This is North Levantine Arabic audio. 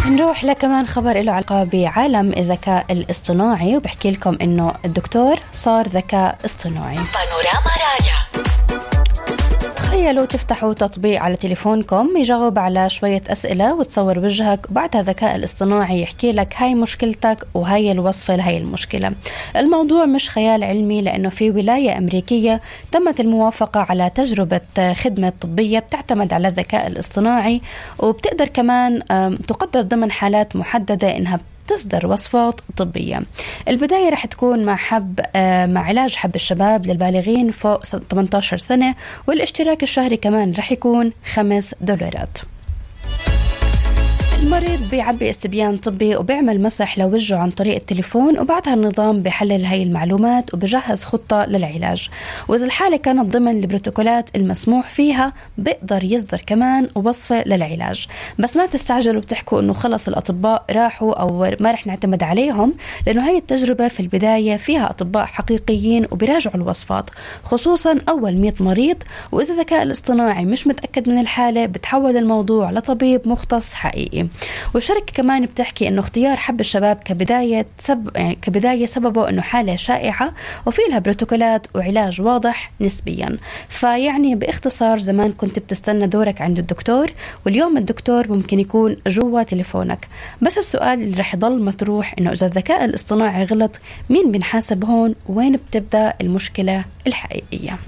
نروح لكمان خبر له علاقة بعالم الذكاء الاصطناعي، وبحكي لكم إنه الدكتور صار ذكاء اصطناعي. بانوراما راديو. تخيلوا تفتحوا تطبيق على تليفونكم يجاوب على شوية أسئلة وتصور وجهك، وبعدها الذكاء الاصطناعي يحكي لك هاي مشكلتك وهاي الوصفة لهاي المشكلة. الموضوع مش خيال علمي، لأنه في ولاية أمريكية تمت الموافقة على تجربة خدمة طبية بتعتمد على الذكاء الاصطناعي، وبتقدر كمان تقدر ضمن حالات محددة إنها تصدر وصفات طبية. البداية رح تكون مع علاج حب الشباب للبالغين فوق 18 سنة، والاشتراك الشهري كمان رح يكون $5. المريض بيعبي استبيان طبي وبيعمل مسح لوجهه عن طريق التليفون، وبعدها النظام بيحلل هاي المعلومات وبجهز خطة للعلاج، وإذا الحالة كانت ضمن البروتوكولات المسموح فيها بيقدر يصدر كمان وصفة للعلاج. بس ما تستعجلوا بتحكوا إنه خلص الأطباء راحوا أو ما رح نعتمد عليهم، لأنه هاي التجربة في البداية فيها أطباء حقيقيين وبيراجعوا الوصفات، خصوصا أول 100 مريض، وإذا الذكاء الاصطناعي مش متأكد من الحالة بتحول الموضوع لطبيب مختص حقيقي. والشركة كمان بتحكي إنه اختيار حب الشباب كبداية سببه إنه حالة شائعة وفي لها بروتوكولات وعلاج واضح نسبيا. فيعني باختصار زمان كنت بتستنى دورك عند الدكتور، واليوم الدكتور ممكن يكون جوا تليفونك. بس السؤال اللي رح يضل مطروح إنه إذا الذكاء الاصطناعي غلط، مين بنحاسب هون؟ وين بتبدأ المشكلة الحقيقية؟